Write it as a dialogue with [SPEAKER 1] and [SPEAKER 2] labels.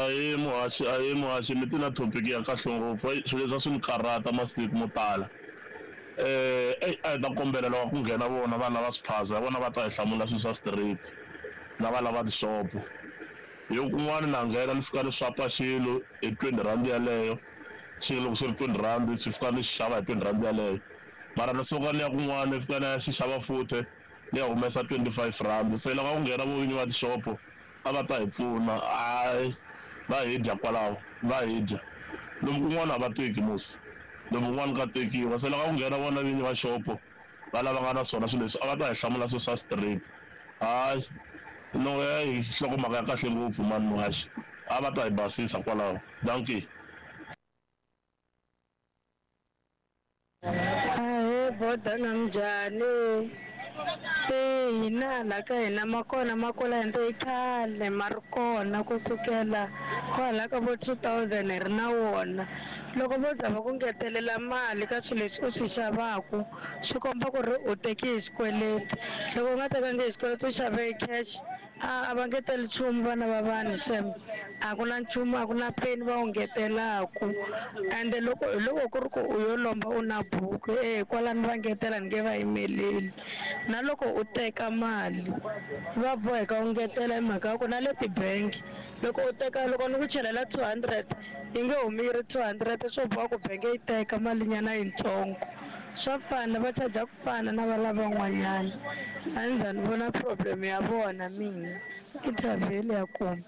[SPEAKER 1] Ahee muhaxi, ahee muhaxi mi ti na topic ya kahle ngopfu eyi swilo leswi a swi ni karhata masiku mo tala eyi a hi ta kombela loko ku nghena vona vana va swiphaza hi vona va ta hi hlamula swilo swa straight na va lava tixopo hi ku kun'wana na nghena ni fika ni swapa xilo hi twenty rand yaleyo xilo loko xi ri twenty rand xi fika ni xi xava hi twenty rand yaleyo mara ni suka ni ya kun'wana ni fika ni ya xi xava futhe ni ya humesa R25 se loko a ku nghena vo vinyi va tixopo a va ta hi pfuna hayi va hi dya kwalaho va hi dya lomu kun'wana a va teki musi lomu kun'wana ka tekiwa se loko a ku nghena vona vinyi va xopo va lava nga na swona swilo leswi a va ta hi hlamula swilo swa straight hayi no heyi nhlokomhaka ya kahle ngopfu mani muhaxi a va ta hi basisa kwalaho dankie.
[SPEAKER 2] Ahee boda na minjhani? E hina hala ka hina ma kona ma kwala ende i khale ma ri kona kusukela kwala ka vo 2000 hi ri na wona. Loko vo za va ku ngetelela mali ka swilo leswi u swi xavaku swi komba ku ri u teke hi xikweleti, loko u nga tekangi hi xikweleti u xave hi cash A a va ngeteli nchumu vana va vanhu xem a ku na nchumu a ku na peni va wu ngetelaku ende loko hi loko ku ri ku u yo lomba u na buku e kwalano va ngetela ni nge va yimeleli na loko u teka mali va boheka u ngetela hi mhaka ya ku na le tibangi loko u teka loko ni ku chelela 200 yi nge humi yi ri 200 swo boha ku bangi yi teka malinyana yitsongo swa fana va charger ku fana na va lavan'wanyana a ni za ni vona problem ya vona mina i thavheli ya kona.